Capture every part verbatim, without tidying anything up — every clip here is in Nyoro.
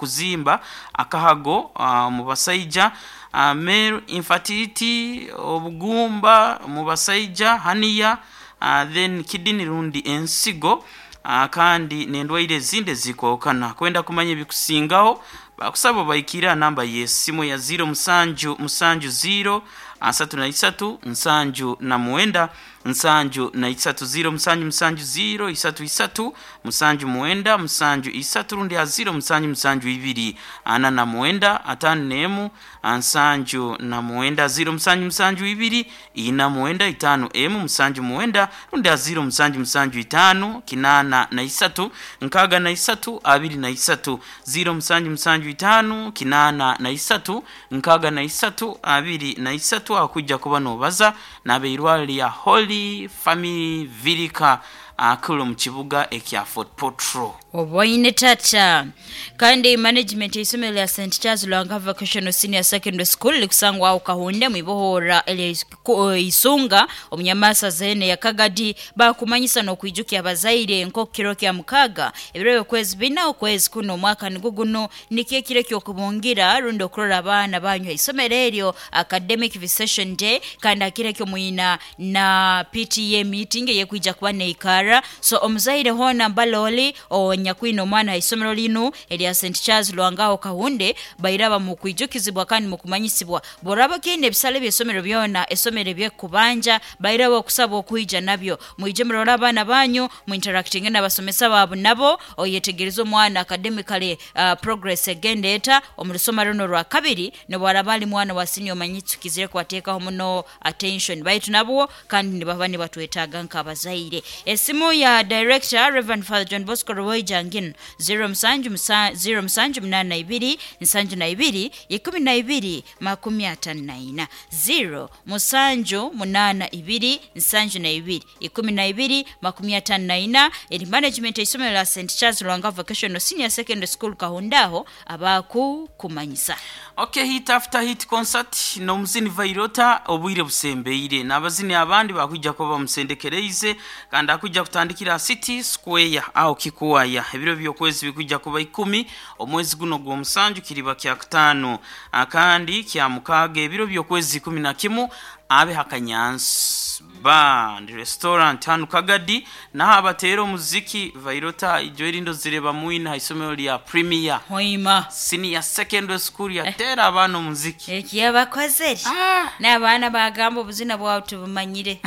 Okuzimba akahago uh, mu basaija, uh, male infertility, obugumba mu basaija, hernia, uh, then kidney rundi ensigo, uh, kandi n'endwaire ezindi ezikwahukana. Kwenda kumanya ebikusingaho, bakusaba baikirira namba y'esimu ya ziro musanju musanju ziro asatu na isatu nsanju na mwenda nsanju na isatu, ziro musanju musanju ziro isatu isatu musanju mwenda musanju isatu, rundi ha ziro musanju musanju ibiri ana na mwenda atano nemu nsanju na mwenda, ziro musanju musanju ibiri ina mwenda itano emu musanju mwenda, rundi ha ziro musanju musanju itano kinana na isatu nkaga na isatu abiri na isatu, ziro musanju musanju itano kinana na isatu nkaga na isatu abiri na isatu. Akujja kuba nobaza n'abeirwaliro lya Holy Family Virika akulu mu kibuga ekya Fort Portal. Oboine tata. Kandi management y'isomero lya Saint Charles Lwanga Vocational Senior Secondary School likusangwa aho Kahunde mwibohora Isunga omunyamasa zene ya Kagadi bakumanyisa n'okwijukia abazaire nko kiro kya mukaga ebiro by'okwezi bina okwezi kuno omwaka niguguno nikyo ekiro ky'okubungira rundi okurora abaana banyu isomero eryo, academic visitation day. Kandi akiro ekyo mwina na P T A meeting eyekwija kuba neikara. So omuzaire hona mbaloli onyakwina omwana isomero linu erya Saint Charles Lwangaho Kahunde, bairaba mu kwijukizibwa kandi mu kumanyisibwa. Boraba kine ebisale by'esomero byona esomero ebyekubanja, bairaba okusaba okwija nabyo, mwije murora abaana banyu, mu interacting n'abasomesa baabo nabo, oyetegereza omwana academically uh, progress egenda eta omu lusoma runo rwa kabiri. Nobwaraba ali mwana wa senior, omanyitsukizire kwateekaho muno attention, baitu nabwo kandi nibaba nibatwetaaga nk'abazaire. Esimu ya director Reverend Father John Bosco Rwoijangin, ziro musanju musa- ziro musanju munana ibiri nsanju na ibiri ikumi na ibiri makumi atano na ina, ziro musanju munana ibiri nsanju na ibiri ikumi na ibiri makumi atano na ina. Eri management eisomero la Saint Charles Lwanga Vocational Senior Secondary School Kahundaho abaku kumanyisa. Okay, hit after hit concert n'omuzini Vairota obwire busembeire n'abazini abandi bakwijja kuba bamusendekereize, kandi akwijja kutandikira City Square aho Kikuwaya. Ebiro by'okwezi bikwijja kuba ikumi omwezi guno gw'omusanju, kiriba kya kutaano kandi kya mukaaga. Ebiro by'okwezi ikumi na kimu abe Hakanyansi Bar and Restaurant hanu Kagadi, naho abateera omuziki Vairota ijo erindo zireba mwina haisomero lya Premier Hoima Senior Secondary School yateera abaana omuziki. Ekiyabakozere Ah. n'abaana bagamba obuzina bwawe tubumanyire.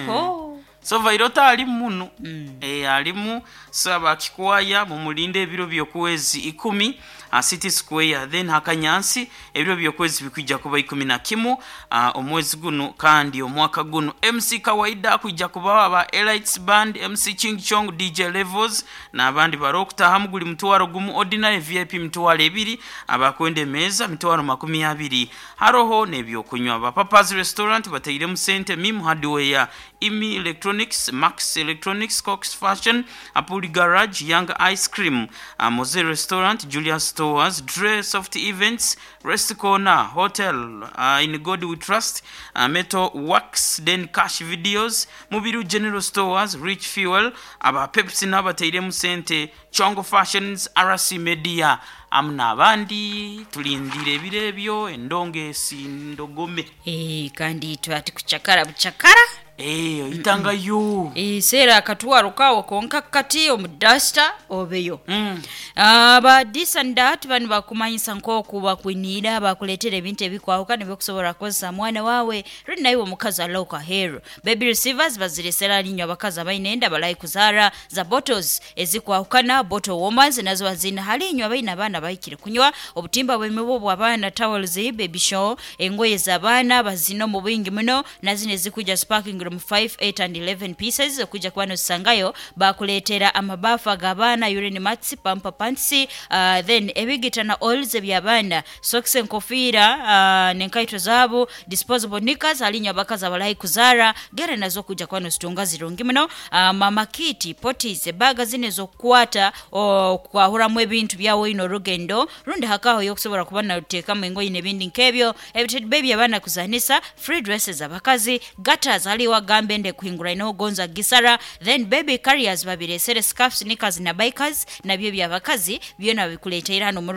Oh. So Vairota ali muno mm. e, alimu. So abakikwaya mumulinde ebiro by'okwezi ikumi uh, City Square, then Hakanyansi ebiro by'okwezi bikwijja kuba ikumi na kimu uh, omwezi guno kandi omwaka guno. M C Kawaida akwijja kubaho, aba Elites Band, M C Ching Chong, D J Levels n'abandi. Barokutahamu guli mutwaro gumu ordinary, V I P mitwaro ebiri, abakwenda emeza mitwaro makumi abiri. Haroho n'ebyokunywa. Aba Papas Restaurant batairemu sente, Mim Hardware, Imi Electronics, Max Electronics, Cox Fashion, Apuli Garage, Young Ice Cream, uh, Mose Restaurant, Julius Stores, Dre Soft Events, Rest Corner Hotel, uh, In God We Trust, uh, Metal Works, then Cash Videos, Mubiru General Stores, Rich Fuel, aba Pepsi n'abatairemu sente, Chongo Fashions, R C Media amu n'abandi. Tulindire ebiro ebyo endongo ndogome. Eh, kandi itwe ati kucakara bucakara. Eh, oyitangayo. Eseera akatwaro kawo konka kati omu dasita obeyo. Mm. Aba disandat bano bakumanyisa nk'oku bakwiniira bakuleetera ebintu ebikwawukana ebyokusobola kukozesa mwana waawe rundi naye omukazi alauka hero. Baby receivers baziresera linyo abakazi abaine enda balayi kuzaara, za bottles ezikwawukana, bottle warmers nazo bazina halinywa abaine abaana bahikire kunywa, obutimba bw'emibu bw'abaana, towels, baby show, engoye z'abaana bazina omu bwingi muno, nazino ezikujja sparking room five, eight and eleven pieces okujja kuba nozisangayo. Bakuleetera amabafu ag'abaana, urine mats, pamper pants, uh, then ebigita na oils eby'abaana, socks, enkofiira uh, n'enkaito zaabo, disposable knickers alinywa abakazi abalayi kuzaara, gera nazo okujja kuba nozitunga zirungi muno. uh, mama kit, potties, ebaga zino ez'okukwata okwahuramu ebintu byawe ino orugendo rundi hakaho yokusobola kuba nateekamu engoye n'ebindi nk'ebyo, ebitebe by'abaana kuzanisa, free dresses abakazi, gatters haliwo agambe ende kuhingura inogonza gisara, then baby carriers babiresere, scarfs, knickers na bikers nabyo byabakazi byona bikuleteera hano mu